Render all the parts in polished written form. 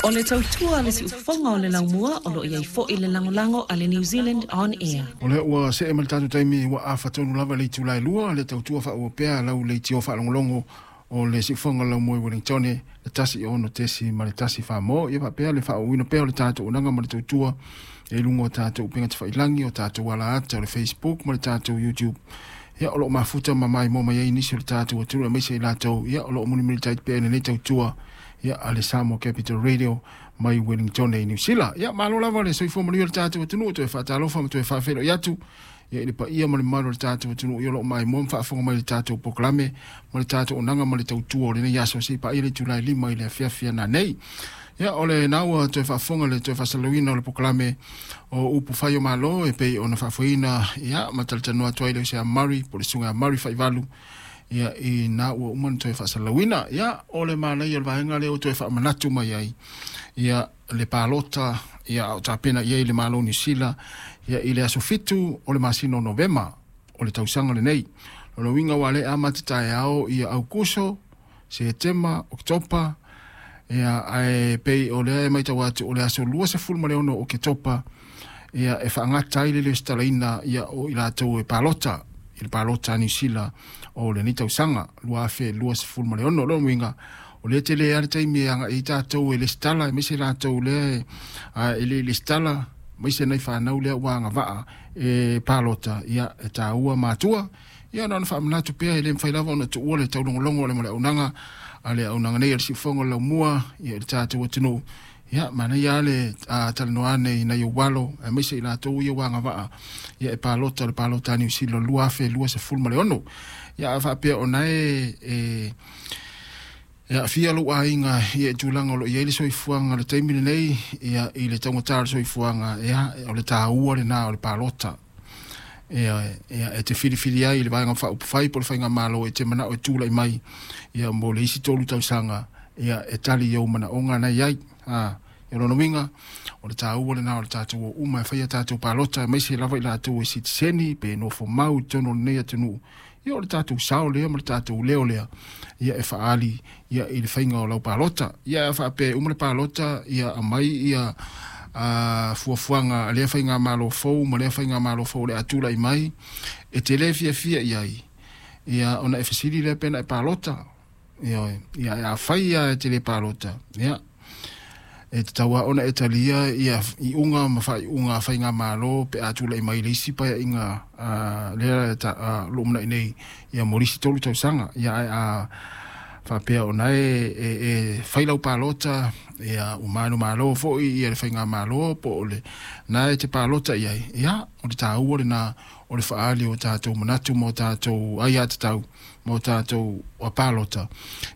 O le tautua a le siufofoga o le laumua o lo o i ai foi le lagolago a le New Zealand On Air. O lea ua see mai le tatou taimi ua afa tonu lava le itula e 2, le tautua faaauau pea lau leitio faalogologo o le siufofoga o le laumua i Wellingtone, le 1 6.1 Samoa. Ia faapea le faaauauina pea o le tatou auaunaga ma le tautua i luga o tatou upega tafailagi, o tatou ala ata o le Facebook ma le tatou YouTube. Ia, o lo o mafuta ma maimoa mai ai nisi o le tatou atunuu, aemaise i latou ia o lo o mulimulitai pea i lenei tautua ia a le Samoa Capital Radio mai Wellington i Niu Sila. Ia, malo lava le soifua manuia o le tatou atunuu, toe faatalofa ma toe faafeiloai atu ia i le paia ma le mamalu o le tatou atunuu ia o lo o maimoa ma faafofoga mai i le tatou polokalame ma le tatou auaunaga ma le tautua o lenei aso seia paia le itula e 5 i le afiafi ana nei. Ia, o lena ua toe faafofoga le toe faasalalauina o le polokalame o upu fai o Malo e pei ona faafoeina ia ma talatalanoa atu ai le uso ia Murray po o le susuga ia Murray Faivalu ia i na ua uma ona toe faasalalauina. Ia, o le manaia o le vaega lea ua toe faamanatu mai ai ia le palota ia a o tapena i ai le Malo o Niu Sila ia i le aso 7 o le masina o Novema o le tausaga lenei. O le uiga ua le amata taeao ia Aukuso, Setema, Oketopa, ia ae pei o lea e matau atu o le aso 26 o Oketopa ia e faagata ai le lesitalaina ia o i latou e palota i le palota a Niu Sila o lenei tausaga 2026. O lona uiga o lea tele lava le taimi e agai ai tatou e lesitala, aemaise latou lea e le i lesitala, aemaise nai fanau lea ua agavaa e palota, ia e taua matua. Ia na ona faamanatu pea, e le mafai lava ona tuua le taulogologo o le auaunaga a le auaunaga nei a le siufofoga o le laumua ia i le tatou atunuu. Ia, manaia lava le talanoa ane i nai ou alo, aemaise i latou ia ua agavaa ia e palota le palota a Niu Sila 2026. Ia, a faapea o na e aafia lou aiga ia i tulaga o lo o i ai le soifuaga i le taimi lenei, ia i le taugata o le soifuaga, ia o le taua lena o le palota. Ia, ia e te filifili ai i le vaega faaupufai po o le faigamalo e te manao e tulai mai ia mo le isi 3 tausaga ia e tali i ou manaoga na i ai. O lona uiga, o le taua lena o le tatou o uma e fai a tatou palota, aemaise lava i latou e sitiseni pe nofo mau i totonu o lenei atunuu. Ia, o le tatou sao lea ma le tatou leo lea ia e faaali ia i le faiga o lau palota. Ia, a faapea e uma le palota ia aumai ia fuafuaga a lea faigamalo fou ma lea faigamalo fou o le a tulai mai e te le fiafia i ai, ia ona e fesili lea pe na e palota. Ia, ia afai ia e te le palota, ia e tatau lava ona e talia ia iuga ma faaiuga a faigamalo pe a tulai mai le isi paeaiga lea o lo o manai nei ia mo le isi 3 tausaga. Ia, ae a faapea o na e fai lau palota ia ua manumalo foi ia le faigamalo po o le na e te palota i ai, ia o le taua lena o le faaali o tatou manatu ma o tatou aiatatau ma o tatou palota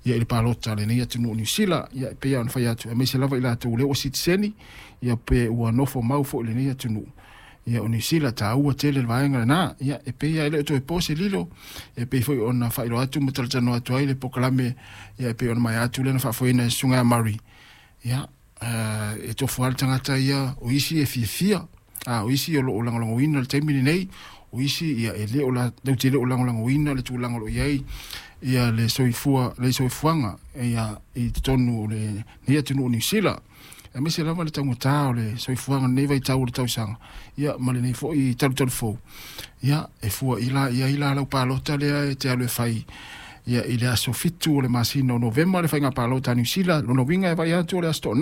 ia i le palota a lenei atunuu o Niu Sila. Ia, e pei ona fai atu, aemaise lava i latou lea ua sitiseni ia pe ua nofo mau foi i lenei atunuu ia o Niu Sila, taua tele le vaega lena. Ia, e pei lava e le o toe po se lilo, e pei foi ona faailoa atu ma talatalanoa atu ai le polokalame ia e pei ona maea atu lea na faafoeina e susuga ia Murray. Ia, e tofu lava le tagata ia, o isi e fiafia, a o isi o lo o lagolagoina le taimi lenei, o isi ia e le o la te le o lagolagoina le tulaga o lo o i ai ia le soifua le soifuaga ia i totonu o lenei atunuu o Niu Sila, aemaise lava le taugata o le soifuaga lenei vaitau o le tausaga ia ma lenei foi talutalu fou. Ia, e fua i la i ai la lau palota lea e te alu e fai ia i le aso 7 o le masina o Novema le faiga palota a Niu Sila. Lona uiga e vaai atu o le aso Toonai.